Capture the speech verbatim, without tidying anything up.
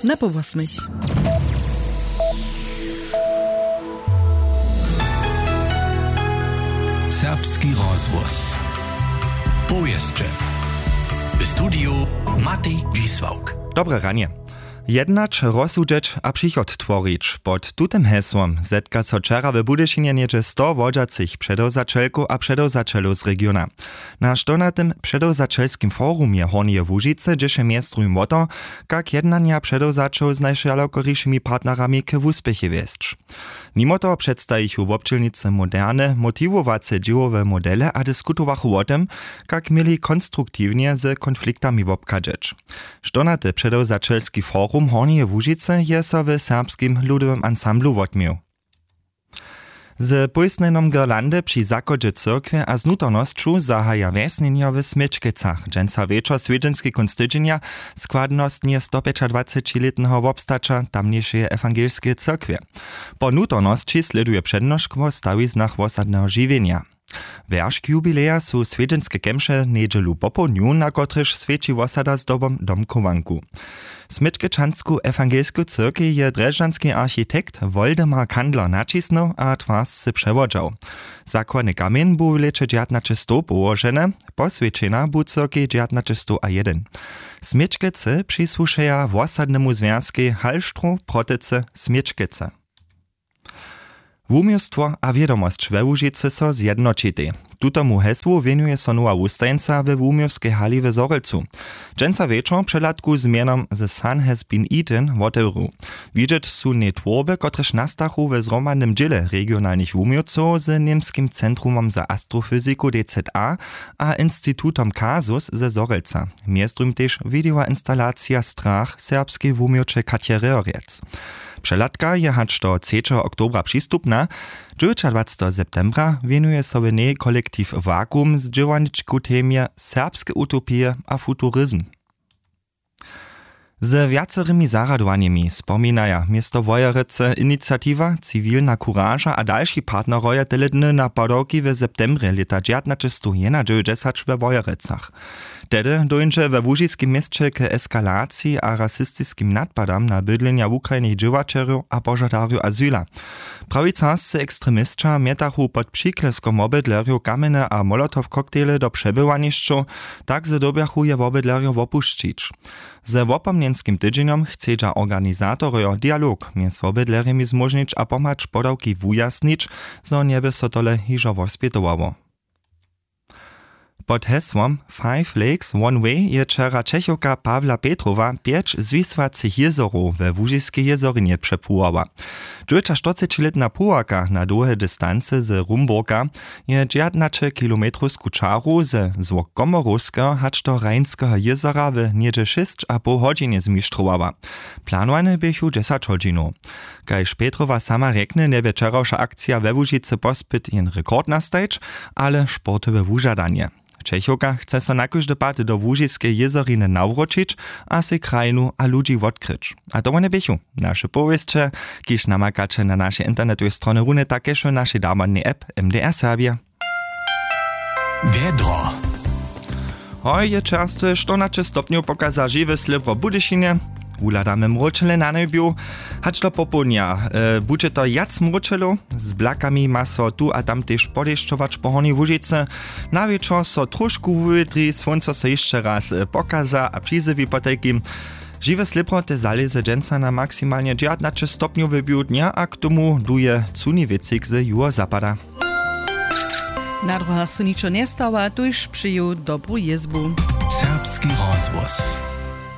Na po wosmich. Serbski rozhłos. Powěsće. W studiju Matej Dźisławk. Dobre ranje. Jednać, rozsudźeć a přichod tworić, pod tutym hesłom zetka so wčera w Budyšinje něhdźe sto wodźacych předewzaćelkow a předewzaćelow z regiona. Na što na tym předewzaćelskim forumje Hornjeje Łužicy dźěše mjez druhim wo to, kak jednanja předewzaćow z najšalokorišimi partnerami k wuspěchej wjesć. Nimo toho předstajichu wobdźělnicy moderne motiwowace dźěłowe modele a diskutowachu wo tym, kak měli konstruktiwnje z konfliktami wobchadźeć. Što na te předewzaćelski forum Hornjeje Łužicy je so w Serbskim ludowym ansamblu wotměł. Z pójsnjenjom girlandy při zachodźe cyrkwje a z nutornosću zahaja wjesnjenjo w Směčkecach dźensa wječor swjedźenski kónc tydźenja, składnostnje stopjećadwacećilětneho wobstaća tamnjejšeje ewangelskeje cyrkwje. Po nutornosći slěduje přednošk wo stawiznach wosadneho žiwjenja. Wjeršk jubileja su swjedźenske kemše njedźelu popołdnju, na kotrychž swjeći wosada zdobom domchowanku. Směčkečansku ewangelsku cyrkej je drježdźanski architekt Woldemar Kandler naćisnył a twarsce přewodźał. Zakładny kamjeń bu w lěće dźewjatnaćestow połoženy, poswjećena bu cyrkej dźewjatnaćestow a jedyn. Směčkecy přisłušeja wosadnemu zwjazkej Hallstroh Protycy Směčkecy. Wuměłstwo a wědomosć we Łužicy so zjednoćitej. Tutomu hesłu wěnuje so nowa wustajeńca we wuměłskej hali w Zhorjelcu. Dźensa wječor přehladku z mjenom The Sun Has Been Eaten wotewru. Widźeć su njej twórby, kotrež nastachu we zhromadnym dźěle regionalnych wuměłcow z Němskim centrumom za astrofyziku D Z A a institutom Kasus ze Zhorjelca. Mjez druhim tež widejoinstalacija Strach serbskej wuměłće Katje Rehorjec. Přehladka je hač do třećeho oktobra přistupna. Dźewjećadwaceteho septembra wěnuje so w njej kolektiw Vakuum z dźěłarničku temje serbske utopije a futurizm. Ze wjacorymi zarjadowanjemi spominaja město Wojerecy iniciatiwa, ciwilna kuraža a dalši partneroje tele dny na padawki w septembrje lěta dźewjatnaćestow jedynadźewjećdźesat we Wojerecach. Tehdy dóńdźe we łužiskim měsće k eskalaciji a rasistiskim nadpadam na bydlenja wukrajnych dźěłaćerjow a požadarjow azyla. Prawicarscy ekstremisća mjetachu pod přikleskom wobydlerjow kamjene a molotow koktejle do přebywanišćow, tak zo dyrbjachu je wobydlerjo wopušćić. Ze wopomnjenskim tydźenjom chcedźa organizatorjo dialog mjez wobydlerjemi zmóžnić a pomhać podawki wujasnić, zo njeby so tole hižo wospjetowało. Pod hesłom Five Lakes One Way je wčera Čechowka Pawla Petrowa pjeć zwisłacych jězorow we Łužiskej jězorinje přepłuwała. Dźewjećaštyrcećilětna płuwarka na dołhe distancy z Rumburka je dźewjatnaće kilometrowsku čaru ze złok Komorowskeho hač do Rheinskeho jězora w něhdźe šěsć a poł hodźinje zmištrowała. Planowany běchu dźesać hodźinow. Kaž Petrowa sama rjekny, njebě wčerawša akcija we Łužicy pospyt jen rekord nastajić, ale sportowe wužadanje. Čechowka chce so na kóždy pad do Łužiskeje jězoriny nawróćić a sej krajinu a ludźi wotkryć. A to wone běchu naše powěsće, kiž namakaće na našej internetowej stronje runje tak kaž w našej darmodnej app M D R Serbje. Wjedro. Hoj, je čerstwe štyrnaće stopnjow, pokaza žiwe slěpro w Budyšinje. Wuhladamy mróčele na njebju. Hač do popołdnja, e, budźe to wjac mróčelow. Z blakami ma so tu a tam tež podešćować po Hornjej Łužicy. Na wječor so tróšku wuwědri, słónco so hišće raz, e, pokaza a přizjewi potajkim. Žiwe slěpro te zalěze dźensa na maksimalnje dźewjatnaće stopnjow w běhu dnja a k tomu duje cuni wětřik z juhozapada. Na dróhach so ničo njestawa, tuž přeju dobru jězbu. Serbski rozhłos.